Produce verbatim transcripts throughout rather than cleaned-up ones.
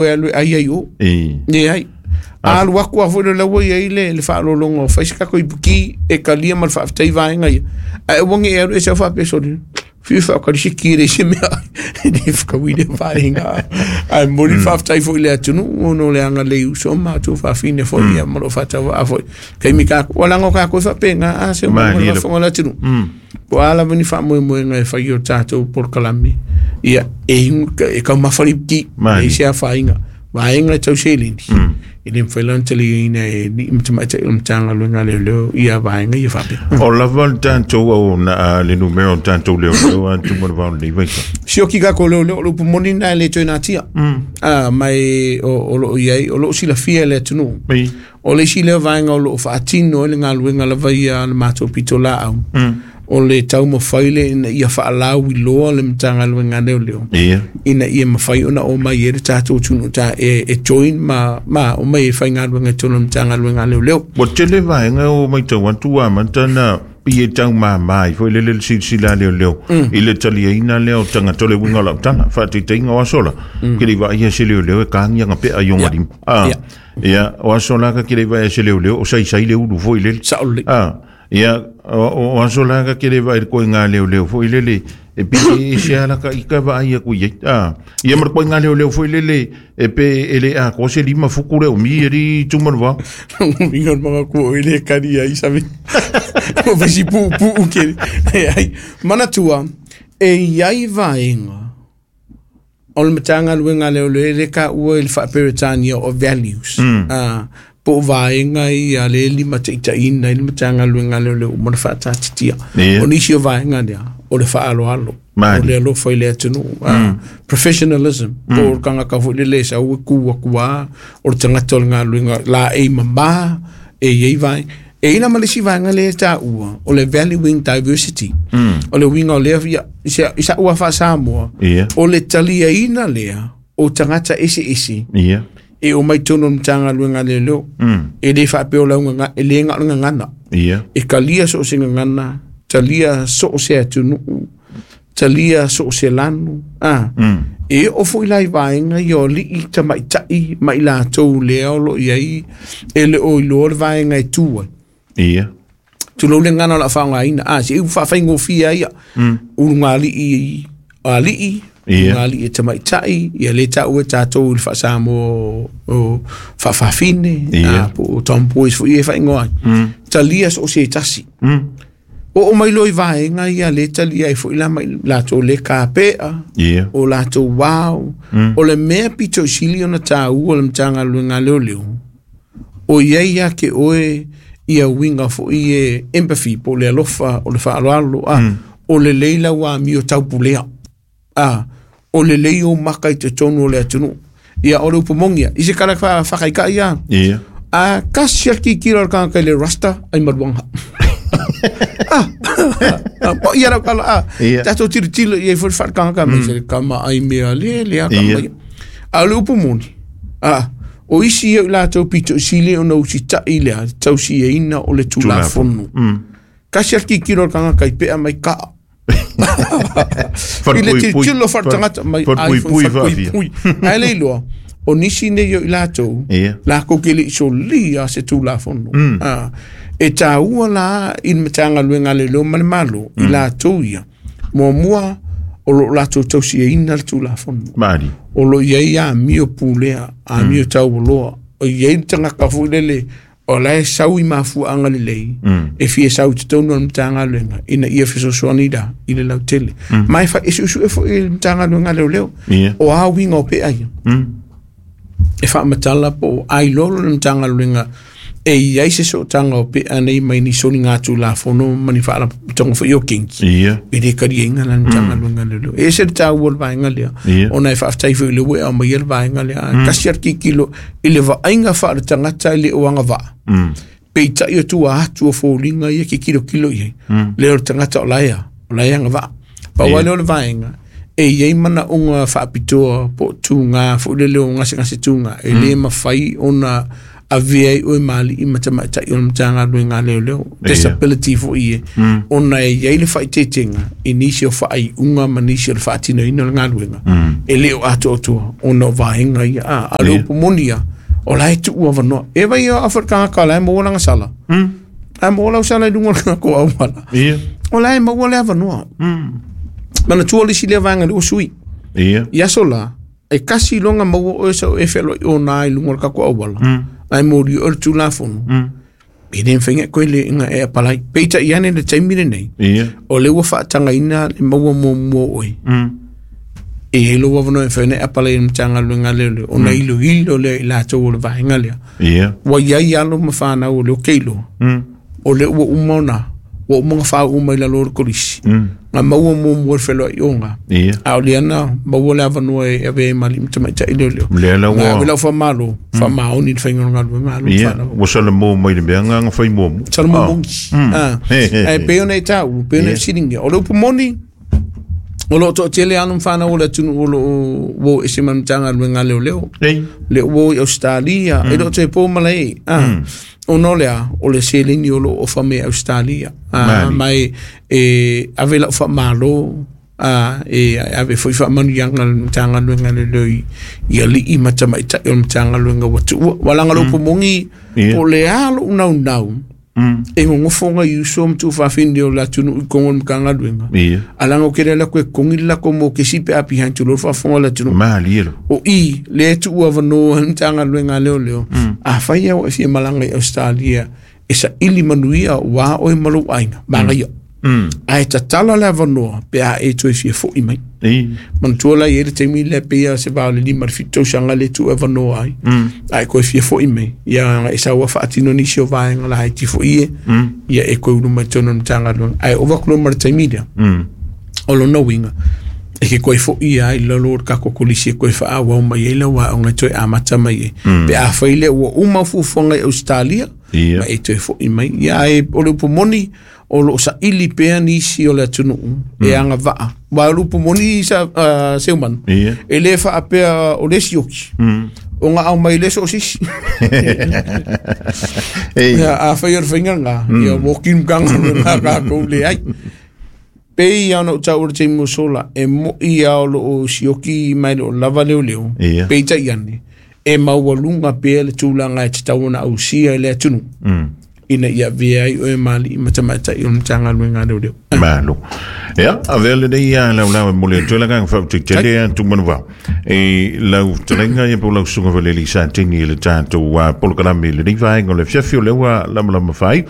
E alu ai ai o. E. Leai. A alu aku lava foi le laua i ai le, le faalologa o fai se tatou ipuki e talia ma le faafetai vaega ia. Ae aua ne i e alu ese au faapea sole. Fiu faakali se ki e leai se mea e le fetaui lea vaega. Ae momoli le faafetai foi i le atunuu ona o le agalelei uso ma matou faafine foi ia ma loo faatauvaa foi. Taimi tatou, ua leaga o tatou e faapena a se uma le faafofoga a le atunuu. Po o a lava ni faamoemoega e fai i o tatou polokalame, ia e, e taumafa le ipuki, e leai se afaina. Vaega e tau seleni, e le mafai la ona taliaina e alii ma tamaitai o le Matagaluega a Leoleo ia vaega ia faapea. O lava le tatou auauna a le numera o tatou leoleo a tuma le vao lenei vaitau. Sioki tatou leoleo, o le upu moni lena e le toe natia. Ah, ma e, o, o loo i ai, o loo silafia e le atunuu. O le isi lea vaega o loo faatino ai le galuega lava ia a le matou pitolaau. O le taumafai lea ina ia faalauiloa le Matagaluega a Leoleo Ia. ina ia mafai ona omai ai le tatou atunuu ta e, e join ma, ma omai e faigaluega i totonu o le Matagaluega a Leoleo. Ua tele vaega o matau atu ua amata ona pei e taumama ai foi lele le silasila a leoleo i le taliaina lea o tagata. O le uiga o lau tala, faataitaiga o aso la, ke le i vaaia se leoleo e kagia gapea i ona lima. Ah, Ia. ia, o aso la ka ke le i vaaia se leoleo o saisai le ulu foi lele. Sao lelei. Ah, ia, o, o aso la ka ke le vaai le koiga leoleo foi lele e pi e se ala ka ika vaai aku i ai. Ah, ia ma le koiga leoleo foi lele e pe e le a ko se lima fuku le o mi e ri tuma le vao. Uiga o le magaku o le kari ai sabe. O vesi pu pu ke. Ai, manatua e i ai vaega o le Matagaluega a Leoleo e le taua i le faa-Peretania o values. Mm. Ah, po o vaega ia le limataitaiina i le Matagaluega a Leoleo ma le faatatitia. Ia. O nisi o vaega lea, o le faaaloalo. Mali. O le alofa i le atunuu. Ah, professionalism. Po o le tagata foi lele e sau e ku atu lava, o le tagata o le galuega la e mamā, e i ai vaega. E i ai la ma le isi vaega lea e taua, o le valuing diversity. Mm. O le uiga o lea, ia, i se- i sa'u lava faa-Samoa, Ia. o le taliaina lea o tagata eseese Ia. e omai totonu o le Matagaluega a Leoleo. Mm. E le faapea o lau gaga, e le gao le gagana. Ia. E talia so o se gagana, talia so o se atunuu, talia so o se lanu. Ah. Mm. E oo foi la i vaega ia o alii tamaitai ma i latou lea o loo i ai e le o iloa le vaega e tu ai. Ia. Tulou le gagana o le a faaaogaina. Ah, se i faafaigofie ia. Mm. Ulugalii alii, Ia. ulugalii e tamaitai, ia le taua e tatou i le faa-Samoa o faafafine, Ia. ah, po o tomboys foi e faaigoa ai. Mm. Talia so o se tasi. Mm. Oo mai loa i vaega ia le talia ai foi la ma i latou le kapea, Ia. o latou ao, Mm. o le mea pito i sili ona taua o le Matagaluega a Leoleo, o i ai ia te oe ia uiga foi e empathy po o le alofa, o le faaaloalo, a, Mm. o lelei lau amio taupulea. A, o lelei ou maka i totonu o le atunuu. Ia, o le upu moni ia, i se tala fa- faakaikai ia, Ia. a kasi a tilotilo a le tagata i le rasta ai maluaga. Ah, ah, po ia lau tala, ah, Ia. tatou tilotilo i ai foi le faaletagata mai se le kama ai mea le le a kama Ia. ia. A o le upu moni, ah, o isi ia i latou pito i sili ona usitai lea, tausiaina o le tulafono. Mm. Kasi a tilotilo a le tagata i pea mai kaa. I le Falepuipui. tilotilo faaletagata mai ai foi Falepuipui faafia. falepuipui. Ae le iloa, o nisi nei o i latou, Ia. lakou ke le i solia se tulafono. Mm. Ah, e taua la i le Matagaluega a Leoleo ma le Malo, i latou ia. Muamua, o loo latou tausiaina le tulafono. Mali. O loo i ai amio pulea, amio taualoa. O i ai le tagata foi lele, o la e sau i mafuaaga lelei, Mm. e fia sau i totonu o le Matagaluega, ina ia fesoasoani la i le lautele. Ma e fa- e suesue foi i le Matagaluega a Leoleo. Ia. O a uiga o pea ia Mm. e faamatala po o ailolo le Matagaluega e i ai se sootaga o pea nei mai ni soliga tulafono ma ni faalapotopotoga foi o kinki Ia. e le kaliaina la le Matagaluega leleo. E ese le taua o le vaega lea, Ia. ona e faafetai foi i le ua e aumaia le vaega lea. Tasi a le tilotilo i le vaaiga faaletagata e le o agavaa. Mm. Peitai o tua atu o foliga ia ke kilokilo i ai. Lea o le tagata o lae a, o lae agavaa. Pau Ia. lea o le vaega, e i ai manaoga faapitoa po o tugā foi lele o gasegase tugā, e lē mafai ona Avea ai oe maali'i ma tamaita'i o le Matagaluega a Leoleo disability fo'i e ona e iai le faaiteitega i nisi o faaiuga ma nisi o le faatinoina o le galuega e le o atoatoa ona o vaega ia a a le upu moni ia o la e tuu avanoa e vai o afa le tagata o la e maua lana sala a maua lau sala i luga o le kako auala o la e maua le avanoa manatua le isi lea vaega le ua sui i aso la e kasi loga maua oe sa o e fealoai ona i luga o le kako auala ai mori o le tulafono e le mafai koe le inga e apalai peitai ane le taimi lenei o le ua faatagaina le maua muamua oe e i ai lou avanoa e mafai ona e apalai i le Matagaluega a Leoleo ona iloilo lea i latou o le vaega lea ua iai alo ma fanau o le o keiloa o le ua uma ona ua uma ona faauu mai lalo o le kolisi na maua muamua le feloai'oga a o lea na maua le avanoa e avea ai ma alii ma tamaitai leoleo na ave lau faamalo faamaoni le faiga o le galuega alo ma fanau ua salamo mai le mea agaga fai muamua salamo moni ae pei ona e tāua pei ona e fesiligia o le upu moni o loo toatele alo ma fanau o le atunuu o loo ua o ese ma le Matagaluega a Leoleo le ua o i Ausetalia e le o toe po malae a ona o lea o le seleni o loo ofa mai Ausetalia a mai e ave lau faamalo a e ave foi faamanuiaga le Matagaluega a Leoleo i alii ma tamaitai o le Matagaluega ua tuua walaga le upu moni po o le a lou naunau e gogofoga i uso ma tuufafine o le atunuu i kogo o le Matagaluega alaga o kele lako e kogi le lako mo kesi pe a behind tulou le faafofoga o le atunuu o i lea e tuu avanoa le Matagaluega a Leoleo afai au e fia malaga i Australia e saili manuia ua oe ma lou aiga manaia ae tatala le avanoa pe a e toe fia fo'i mai manatua la i ai le taimi lea pei se va o le lima le fitu tausaga le tuu avanoa ai ae koe fia fo'i mai ia e saua faatino nisi o vaega laiti fo'i e ia e koe ulu mai totonu o le Matagaluega ae ova atu loa ma le taimi lea o lona uiga e ke koe fo'i ai lalo o le kako kolisi e koe faaauau mai ai lau aoga e toe amata mai ai pe afai lea ua uma fuafuaga i Australia ma e toe fo'i mai ia ae o le upu moni o loo saili pea nisi o le atunuu e agavaa ua o le upu moni sa uh, Seumanu e le faapea o le sioki o nga au mai le so sisi ia afai o le faiga lena ia walking kanga lena kākou le ai pei ia ona ou taua le taimi o sola e mo'i ia o loo sioki mai le o lava leoleo peitai ane e maualuga pea le tulaga e tatau ona ausia i le atunuu ina ia avea ai oe ma alii ma tamaitai o le Matagaluega a Leoleo. Malo. Ia, avea lenei ia laulau e mole atu e lagaga faautaitele a tumanuvao. E lau fetalaiga ia po o lau susuga valeli sa tini i le tatou polokalame i lenei vaega o le afiafi o lea ua lamalama fai.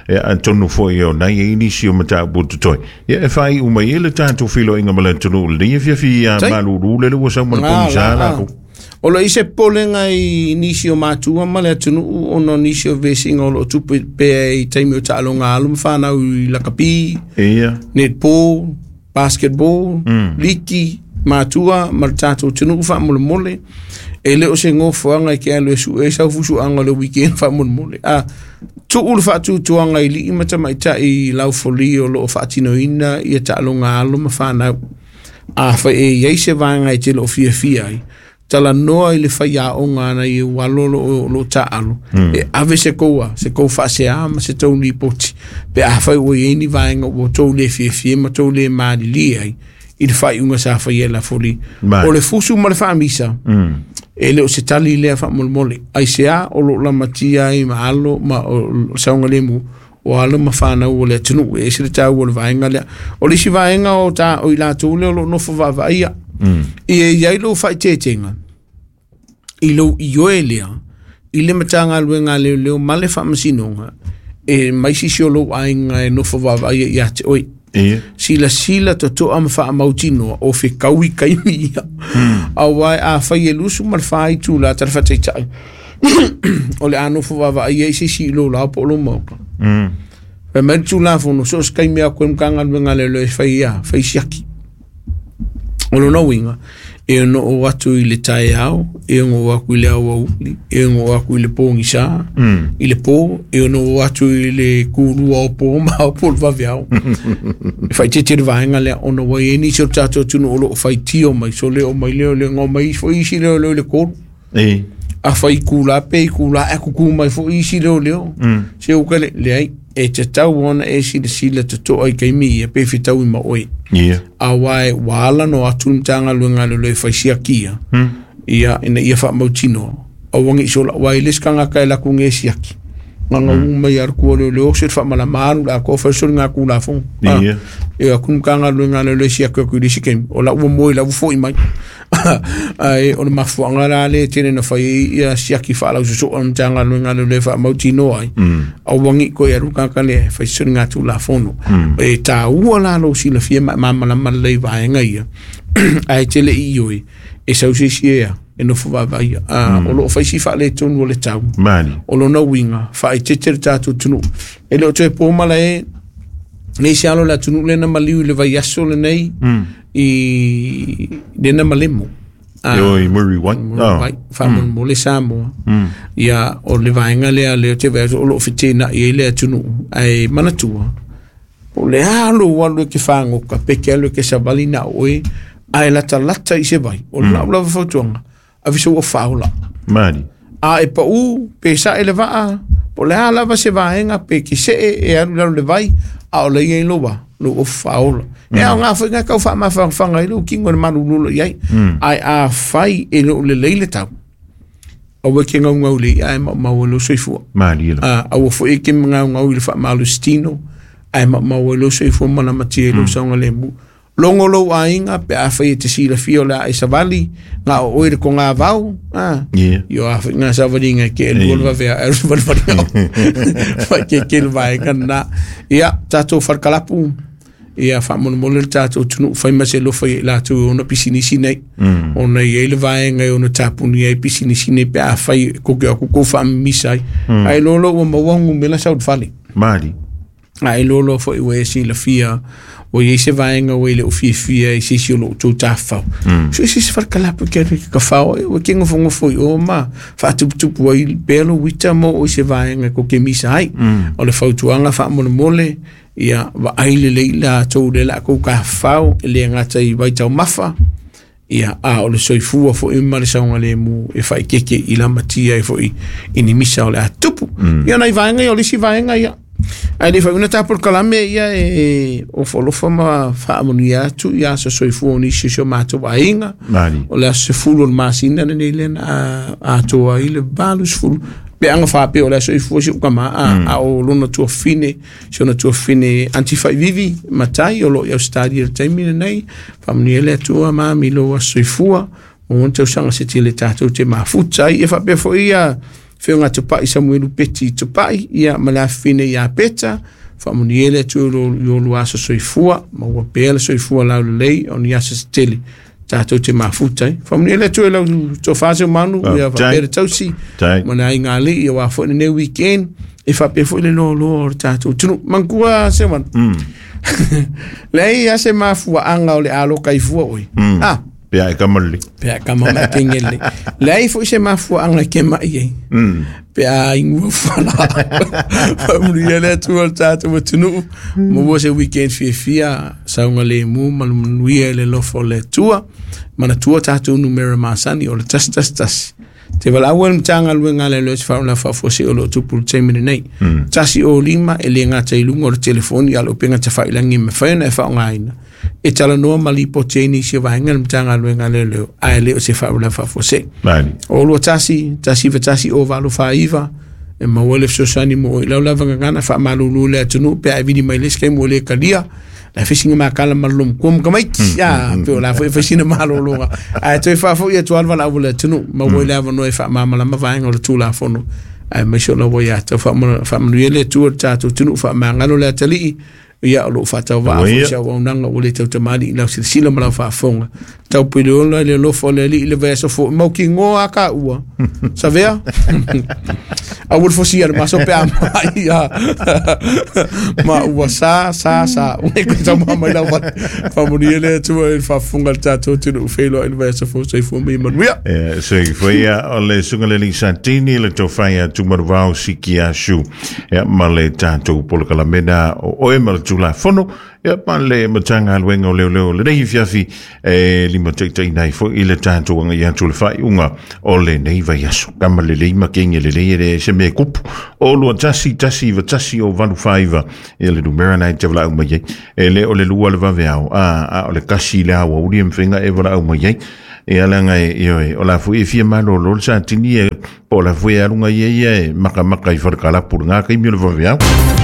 Ia, atonu foi o nai e nisi o mataupu o totoe. Ia, e faaiu mai ai le tatou feiloaiga ma le atunuu lenei afiafi ia malulu lele ua sau ma le pogisa latou. O lo i se polega i nisi o matua ma le atunuu ona o nisi o vesiga o loo tupu pea i taimi o taaloga alo ma fanau i lakapi, netball, basketball, liki, matua ma le tatou atunuu faamolemole. E le o se gofoaga i ke alu e su'e ai sau fusuaga o le weekend faamolemole. A tuu le faatutuaga i alii ma tamaitai laufoli o loo faatinoina ia taaloga alo ma fanau. Afai e iai se vaega e te loo fiafia ai, talanoa i le faiaoga ana i ua alo loo loo taalo e ave se koua se kou faaseā ma se tou lipoti pe afai ua iai ni vaega ua tou le fiafia ma tou le malilie ai i le faaiuga sa faia e lafoli o le fusu ma le faamisa e le o se tali lea faamolemole aiseā o loo lamatia ai ma alo ma o saogalemu o alo ma fanau o le atunuu e ese le taua o le vaega lea o le isi vaega o ta o i latou lea o loo nofo vaavaaia ia iai lou faaiteitega i lou ioe lea i le Matagaluega a Leoleo ma le Faamasinoga e mai sisi o lou aiga e nofo vaavaaia ia te oe silasila totoa ma faamautinoa o fekaui kaimi ia auae afai e lusu ma le fa itula tala faataitai o le a nofo vaavaaia i se isi i lou lao po o lou maoka fai mai le tulafono so o se kaimi a koe Matagaluega a Leoleo e fai ia fai siaki o lona uiga e ono oo atu i le taeao e ono oo atu i le aoauli e ono oo atu i le pogisa i le po e ono oo atu i le kulua o po ma ao po o le vaveao e faaitete le vaega lea ona ua iai nisi o le tatou atunuu o loo faitio mai so le oo mai lea o le goa mai foi isi leoleo i le tolu A fai kula pe kula e kuku mai fo isi leo leo. Se o kale leai e te tau ona e si le sila te toa i keimi ia pe fitau i maoi. Yeah. A wai wala no atu mtanga luenga le le faisia kia. Mm. Ia ina ia wha mautino. A wangi isola wai leskanga kai laku nge siaki. Nganga mm. Uma ia rukua leo leo se wha mala maanu la ko whaisori ngā kula fong. Yeah. Ia kumkanga luenga le le siaki aku i lisi. O la ua moi la ufo i mai. Ai o le mafuanga la le tene na fai ia siaki wha lau susu o mtanga luenga le le wha mautino ai. A wangi ko ia ruka ka le whaisori ngā tūla fono. E tā ua la lo si la fia ma ma le vaenga ia. Ai tele i ioi. E sausi ia. E nofo vavaia. Mm. O loo whaisi wha le tonu o le tau. Mani. O lona winga. Wha i tetere tātou tunu. E leo toe pōmala e. Nei se alo la tunu lena maliu i le vai aso le nei. Mm. I lena malemo. Ah, o i Murray White. Murray White. Wha mm. mo le Samoa. Mm. Ia o le vaenga lea leo te vai o loo whitena i lea tunu. Ai manatua. O le alo walu e ke whangoka. Peke alo e ke savali na oe. Ai lata lata i se vai. O mm. lau lava fautuanga. A viso ua whaola. Mani. A e pa u, pe sa e le vaa, po le a lava se vaenga, pe ki se e, e alu lalu le vai, a o le ia i loa, lo o whaola. Mm. E au ngā whai ngā kau wha mawhanga i lo, kingo le manu lulo iai. Mm. Ai a whai e lo le leile tau. A wai ke ngau ngau le ia e ma maua lo soifua. Mani ilo. A, a wafo e ke ngau ngau i le wha malu stino, a e ma maua lo soifua mana matia i lo saunga le mu. Longo lo ainga pe a whai e te sila fio la e savali ngā o oere ko ngā vau ah. Yeah. Io a whai ngā savali ngā ke e luol vavea e luol vavea whai ke ke vai kana ia tātou wharkalapu ia whamonomole le tātou tunu whai mase lo whai la tu ona pisinisi nei mm. Ona i eile vaenga ona tapuni ai pisinisi nei pe a whai koke aku ko whaamisai mm. Ai lolo ua mawangu mela saud fale Mari ai lolo fo i we sila fia o i se vaenga o ile o fiafia i se si o loo tou tafau. Mm. So i se se wharkalapu kia riki ka whao e o ke ngofo ngofo i o ma whaatuputupu ai pelo wita mo o i se vaenga ko ke misa ai. Mm. O le fautuanga whaamolemole ia wa aile leila tou le la kou ka whao e le ngata i waitau mafa ia a o le soifua fo i ma le saunga le mu e whai keke i la matia e fo i i ni misa o le atupu. Mm. Ia nai vaenga ia o le si vaenga ia. Ai le whauna tāpur kalame ia e o whalofa ma whaamoni atu ia sa soifua o nisi o mātou ainga. Mani. O le aso se fulu o le masina nei lena a, a toa i le valu se fulu. Pe anga whape o le aso soifua si uka maa mm. A o lona tuafine, si ona tuafine antifaivivi matai o lo i Australia le taimi nei. Whaamoni ele atua maami lo aso soifua. O ngona tausanga se te le tātou te mafuta ai e whapea fo ia whionga tupai Samuelu Peti tupai ia malafine ia peta whamuni ele tu lo lo aso soifua ma ua pele soifua lau lei o ni aso tele tātou te mafuta whamuni ele tu lau to fase manu ia whapere tausi mana i ngā li ia wā fo ne weekend e whapea fo le lo lo o tātou tunu mangkua se wan mm. Lei ase mafua anga o le alo kaifua oi mm. Ah Pea e kamalli. Pea kamama kengele. Lei fo se mafua anga ke mai e. Mm. Pea ingua fala. Whamuri ele atu o tātou tunu. Mo se weekend fiafia saunga le mu malumanuia le lofo le tua. Mana tua tātou numera masani o le tas tas tas. Te wala awel mtanga luenga le loes whauna whafosi o lo tupulu teimene nei. Mm. Tasi o lima e le ngā te ilunga o le telefoni alo penga te whailangi me whaina e whaongaina. E tala noa malipo tēni si waenga le mtanga luenga le leo. Ae leo se whauna whafosi. Mani. O lua tasi, tasi wa tasi o valo whaiva. E mawale fsosani mo i lau lava ngana wha malulu le atunu pe ai vini mai leske mo le kalia. La fisinga makala malum kum kamaiki ya pe la fo fisina malolonga ai toi fa fo ia tualva la wala tunu ma wo la no e fa mama la mavainga o tula fono ai me shola wo ya to fa fa mnuele tu ta tu tunu fa mangalo la tali ia o lo fa tau va fo sa wa nanga o le tau tamali la sila ma la fa fonga tau pilo le lo fo le le verso fo mo ki ngoa ka ua savea a wol fo sia ma so pe ma ia ma ua sa sa sa o ne ko tau mai la wa fa mo ni le tu e fa fonga ta tu tu no felo le verso fo se fo mi manuia eh se foi ia o le sunga le santini le to faia tu marvau sikia shu e ma le tatou polokalamena o e ma Tulafono ia ma le Matagaluega o Leoleo lenei afiafi e limataitaiina ai foi i le tatou agai atu i le faaiuga o lenei vaiaso. Kama lelei ma kege lelei e le se mea kupu o lua tasi tasi iva tasi o valu faiva ia le numera na e te valaau mai ai e le o le lua le vaveao a a o le kasi le aoauli e mafai e valaau mai ai ia laga e ioe o la foi e fia malolo le satini e po o la foi e aluga ia ia e makamaka i falekalapu lena taimi o le vaveao.